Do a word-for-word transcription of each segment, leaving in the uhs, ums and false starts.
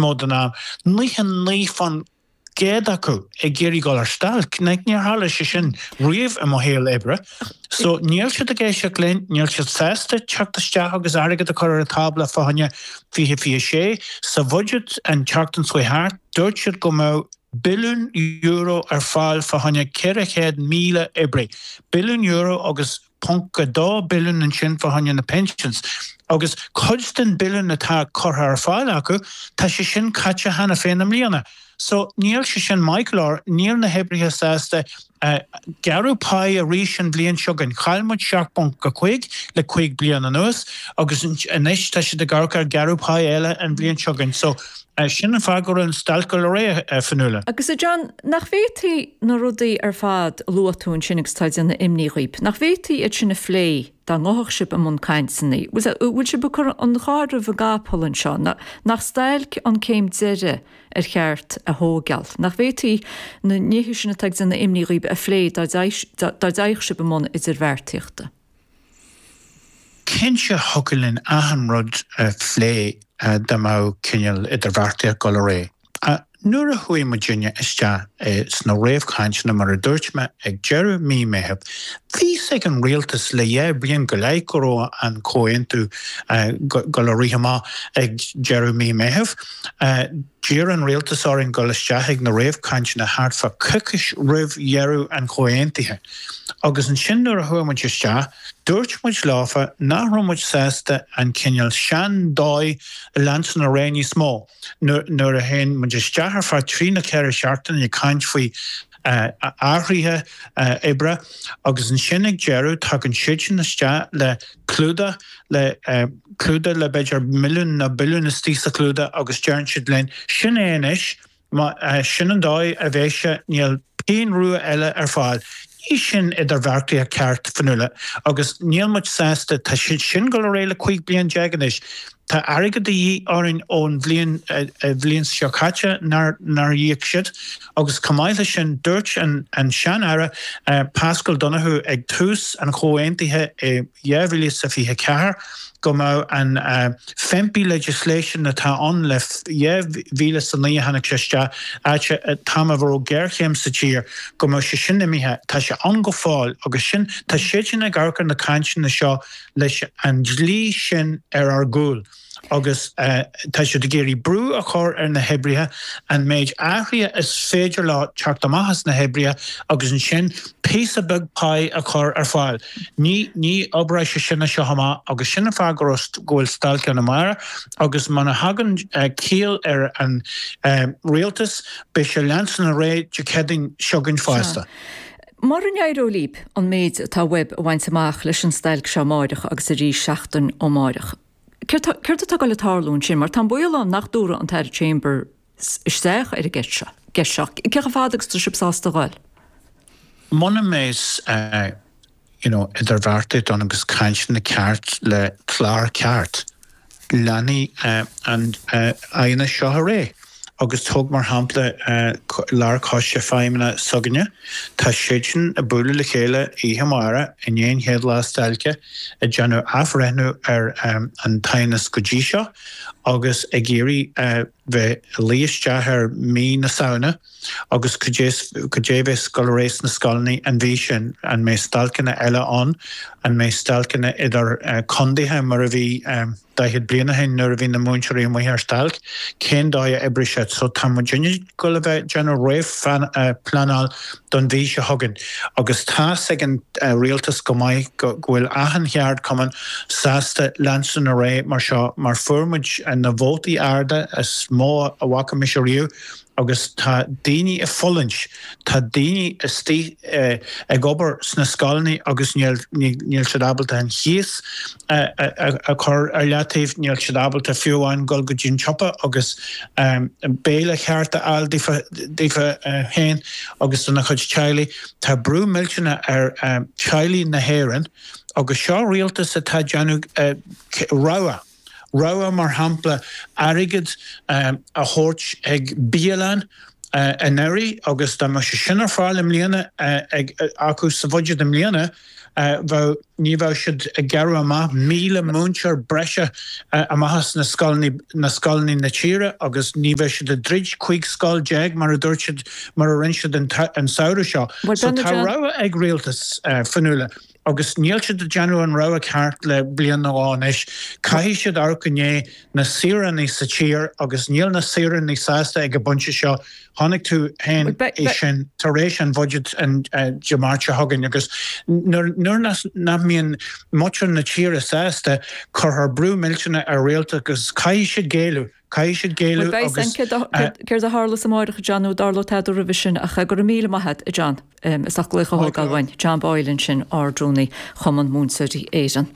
mó den am, nócha naoi faoin gcéad acu ag iarraidh dul ar stailc. Níor tharla sé sin riamh i mo shaol oibre. So níl siad ag éisteacht linn, níl siad sásta teacht isteach agus airgead a chur ar an tábla fá choinne fiche fiche sé. Sa bhuiséad an tseachtain seo thart, dúirt siad go mbeadh billiún euro ar fáil fá choinne ceithre chéad míle oibrí. Billiún euro agus ponc a dó billiún ansin fá choinne na pensions. Agus cuid den billiún atá curtha ar fáil acu, tá sé sin caite cheana féin i mbliana. So níl sé sin maith go leor, níl na hoibrithe sásta gearradh pá arís an bhliain seo chugainn. Chaill muid seacht bponc a cúig le cúig bliana anuas agus anois tá siad ag amharc ar gearradh pá eile an bhliain seo chugainn. So sin an fáth go raibh an stailc ag dul ar aghaidh, a Fionnuala. Agus a John, nach bhféadfaí na rudaí ar fad a luaigh tú ansin agus atá ag déanamh imní dhaoib, nach bhféadfaí iad sin a phlé dá ngabhfadh sibh i mbun cainteanna? Bhfuil sibh ag cur an carr roimh an gcapall anseo? Nach stailc an céim deiridh ar cheart a thógáil? Nach bhféadfaí na nithe sin atá ag déanamh imní dhaoib a phlé dá dtéadh sibh i mbun idirbheartaíochta? Cinnte thiocfadh linn achan rud a phlé dá mbeadh cineál idirbheartaíocht ag dul ar aghaidh. Nuair a chuaigh muidinne isteach sna réamhchainteanna, mar a dúirt mé, ag deireadh mí Meitheamh, bhí fhios ag an rialtas le dhá bhliain go leith go raibh an comhaontú dul a rith amach ag deireadh mí Meitheamh. D'iarr an rialtas orainn dul isteach ag na réamhchainteanna thart fá coicís roimh dheireadh an chomhaontaithe. Agus ansin nuair a chuaigh muid isteach, dúirt muid leofa nach raibh muid sásta an cineál sean-dóigh a leanstan ar aghaidh níos mó. Nuair a théann muid isteach ar feadh trí nó ceithre seachtaine ag caint faoi athruithe oibre agus ansin ag deireadh tagann siadsan isteach le clúdach, le clúdach le b'fhéidir milliún nó billiún istigh sa chlúdach agus deireann siad linn, sin é anois, sin an dóigh a bheidh sé, níl pingin rua eile ar fáil. Ní sin idirbheartaíocht ceart, Fionnuala, agus níl muid sásta, tá sé sin ag dul ar aghaidh le cúig bliain déag anois. Tá airgead de dhíth orainn ón bhliain bhliain seo caite nár nár íoc siad agus chomh maith leis sin dúirt an an sean-aire Paschal Donohoe ag tús an chomhaontaithe i dhá mhíle is a fiche ceathair go mbeadh an FEMPI legislation atá ann le dhá mhíle is a naoi a tháinig sé isteach, áit an t-am a raibh géarchéim sa tír, go mbeadh sé sin imithe. Tá sé ann go fóill agus sin, tá siadsan ag amharc ar na cainteanna seo leis an dlí sin ar ár gcúl agus tá siad ag iarraidh brú a chur ar na hoibrithe an méid athruithe is féidir leo teacht amach as na hoibrithe agus ansin píosa beag pá a chur ar fáil. Ní ní oibreoidh sé sin as seo amach agus sin an fáth go raibh go bhfuil stailc ann amárach agus muna thagann ciall ar an rialtas beidh sé leanstan ar aghaidh Dé Céadaoin seo chugainn fosta. Mura n-éireoidh libh an méid atá uaibh a bhaint amach leis an stailc seo amáireach agus arís seachtain ó amáireach, céard atá ag dul a tarlú ansin? Mar tá an baol ann nach dtabharfaidh an tAire Chambers isteach ar an gceist seo. gceist seo. Cé chomh fada agus tá sibh sásta a dhul? Muna mbeidh you know, idirbheartaíocht ann agus cainteanna ceart le clár ceart, leanfaidh an aighneas seo ar aghaidh. Agus tóg mar shampla Lárchoiste Feidhmeanna s'againne, tá siadsan ag bualadh le chéile oíche amárach i ndiaidh an chéad lá stailce ag déanamh athbhreithniú ar an t-aighneas go dtí seo agus ag iarraidh bheith ag luí isteach ar mí na Samhna agus cad é a bheas ag dul ar aghaidh sna scoileanna an mhí sin, an mbeidh stailceanna eile ann, an mbeidh stailceanna idir condaetha mar a bhí daichead bliain ó shin nuair a bhí na múinteoirí amuigh ar stailc, cén dóigh a oibreoidh siad. So tá muidinne ag dul a bheith ag déanamh réamhphleanáil don mhí seo chugainn agus tá's ag an rialtas go maith go bhfuil achan cheardchumann sásta leanstan ar aghaidh mar seo mar fuair muid na vótaí arda is mó a bhfaca mise riamh agus tá daoine ag fulaingt, tá daoine istigh ag obair sna scoileanna agus níl níl siad ábalta an cíos a chur ar leataobh, níl siad ábalta fiú amháin dul go dtí an tsiopa agus béile ceart a fháil daofa daofa féin agus dona chuid teaghlaigh. Tá brú millteanach ar teaghlaigh na hÉireann agus seo rialtas atá ag déanamh rogha. Rogha, mar shampla, airgead a thabhairt ag bialann anuraidh agus dá mbeadh sé sin ar fáil i mbliana acu sa bhuiséad i mbliana, bheadh, ní bheadh siad ag gearradh amach míle múinteoir breise amach as na scoileanna, na scoileanna na tíre agus ní bheadh siad ag druid cúig scoil déag mar a dúirt siad, mar a rinne siad an samhradh seo. So tá rogha ag rialtas Fionnuala agus níl siad ag déanamh an rogha ceart le bliain nó dhó anois. Caithfidh siad amharc i ndiaidh na saoránaigh sa tír agus níl na saoránaigh sásta ag an bpointe seo. Chonaic tú féin é sin tar éis an bhuiséid Dé Máirt seo chugainn agus nuair nach mbíonn muintir na tíre sásta, cuirfear brú millteanach ar rialtas agus caithfidh siad géilleadh. Caithfidh siad géilleadh agus. Céard a tharlós amárach, a John, nó an dtarlóidh tada roimhe sin ach go raibh míle maith agat, a John, as ucht glaoch a thógáil uainn. John Boyle ansin, Ard-Rúnaí Chumann Múinteoirí Éireann.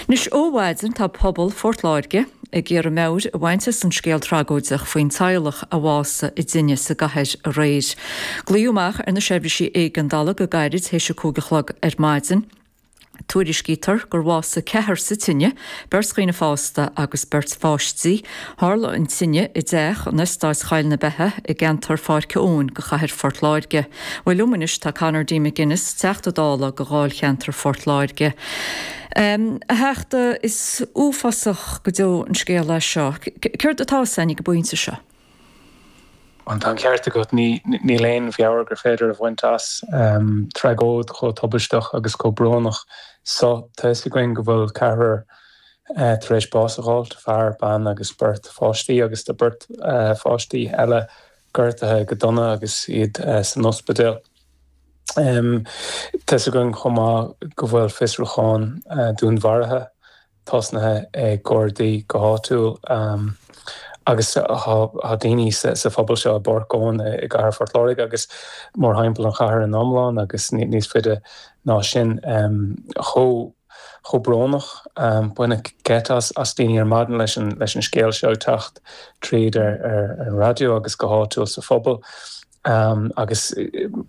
Anois ó mhaidin tá pobal Phort Láirge ag iarraidh meabhair a bhaint as an scéal tragóideach faoin teaghlach a bhásaigh i dtine sa gcathair aréir. Glaodh amach ar na seirbhísí éigeandála go gairid théis a cúig a chlog ar maidin. Tuairiscítear gur bhásaigh ceathrar sa tine, beirt dhaoine fásta agus beirt pháistí. Tharla an tine i dteach in Eastát Choill na Beithe i gceantar Pháirc Eoin de chathair Phort Láirge. Bhuel liom anois tá Conor D. McGuinness, Teachta Dála do dháilcheantar Phort Láirge. A Theachta, is uafásach go deo an scéal é seo. Céard atá fhios againn ag an bpointe seo? Bhuel, tá an ceart agat, níl aon mheabhair gur féidir a bhaint as tragóid chomh tubaisteach agus chomh brónach so. Tá fhios againn go bhfuil ceathrar tar éis bás a dh'fháilt, fear, bean agus beirt pháistí, agus tá beirt pháistí eile gortaithe go dona agus iad san ospidéal. Tá fhios againn chomh maith go bhfuil fiosrúchán dúnmharaithe tosnaithe ag Gardaí go háitiúil agus tá daoine sa phobal seo i bPáirc Eoin i gcathair Phort Láirge agus mórthimpeall an chathair in iomlán agus níos faide ná sin chomh chomh brónach. Baineadh geit as daoine ar maidin leis an leis an scéal seo ag teacht tríd ar an raidió agus go háitiúil sa phobal. Agus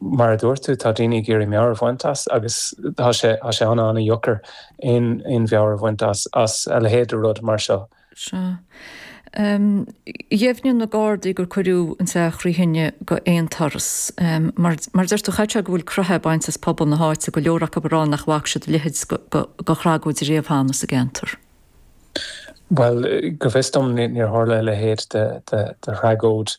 mar a dúirt tú, tá daoine ag iarraidh meabhair a bhaint as agus tá sé tá sé an-an-dheacair aon aon mheabhair a bhaint as as a leithéid de rud mar seo. Sea. Dheimhnigh na Gardaí gur cuireadh an teach thrí thine go aon turas. Mar mar a deir tú, chaithfeadh sé go bhfuil croitheadh bainte as pobal na háite, go leor acu ag rá nach bhfaca siad a leithéid de thragóid riamh cheana sa gceantar. Bhuel, go bhfios dom níor tharla a leithéid de thragóid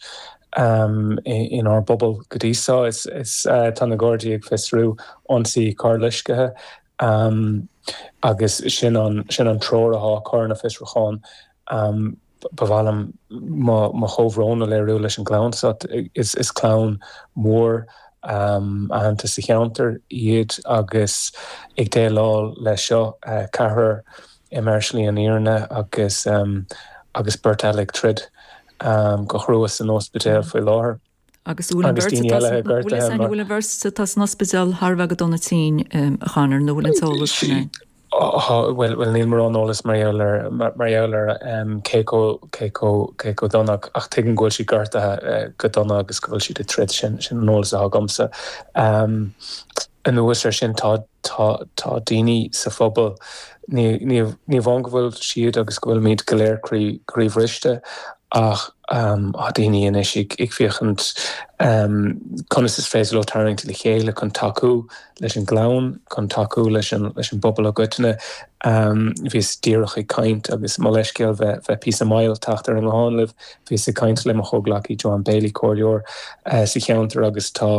inár bpobal go dtí seo. Tá na Gardaí ag fiosrú ionsaí carrloiscthe agus sin an sin an treoir atá á cur ar na fiosrúcháin. Ba mhaith liom mo chomhbhrón a léiriú leis an gclann seo. Is clann mhór aitheanta sa cheantar iad agus ag déileáil leis seo, ceathrar imithe ar shlí an fhírinne agus agus beirt eile ag troid go chrua san ospidéal faoi láthair. Agus bhfuil an bheirt bhfuil an bheirt atá san ospidéal thar a bheith go dona tinn, a Chonor, nó bhfuil an t-eolas sin ann? Bhuel, níl mórán eolas mar gheall ar mar gheall ar cé chomh cé chomh cé chomh dona ach tuigim go bhfuil siad gortaithe go dona agus go bhfuil siad ag troid, sin sin an eolas atá agamsa. Anuas air sin tá tá tá daoine sa phobal, ní ní ní amháin go bhfuil siad agus go bhfuilimid go léir croí croíbhriste ach tá daoine anois ag ag féachaint conas is féidir leo tarraingt le chéile chun tacú leis an gclann, chun tacú leis an leis an bpobal i gcoitinne. Bhíos díreach ag caint agus mo leithscéal bheith bheith píosa mall teacht ar an nguthán libh, bhíos ag caint le mo chomhghleacaí Joanne Bailey, comhairleoir sa cheantar agus tá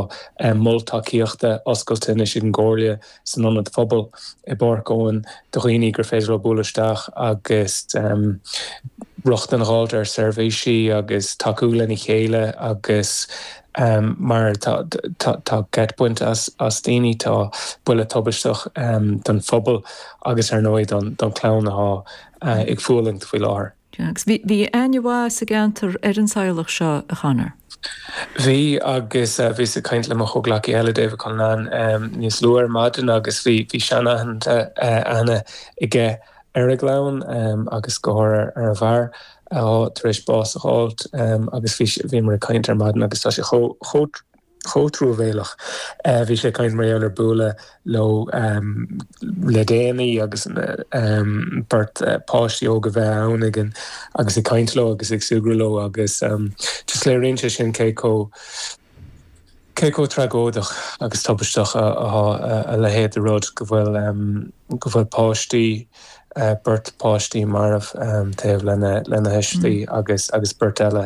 mol tacaíochta oscailte anois ag an gComhairle san Ionad Phobail i bPáirc Eoin do dhaoine gur féidir leo bualadh isteach agus rochtain a dh'fháilt ar seirbhísí agus tacú lena chéile agus mar tá tá geit bainte as as daoine, tá buille tubaisteach don phobal agus ar ndóigh don don chlann atá ag fulaingt faoi láthair. Agus bhí bhí aithne mhaith sa gceantar ar an teaghlach seo, a Chonor? Bhí agus bhíos ag caint le mo chomhghleacaí eile David Cullinane níos luaithe ar maidin agus bhí bhí seanaithne aithne aige ar an gclann agus go háirithe ar an bhfear atá tar éis bás a dh'fháilt agus bhí bhíomar ag caint ar maidin agus tá sé chomh chomh chomh truamhéalach. Bhí sé ag caint mar gheall ar bualadh leo le déanaí agus beirt páistí óga bheith ann ag an agus ag caint leo agus ag súgradh leo agus just léiríonn sé sin cé chomh cé chomh tragóideach agus tubaisteach atá a leithéid de rud go bhfuil go bhfuil páistí beirt páistí marbh taobh lena lena thuistí agus agus beirt eile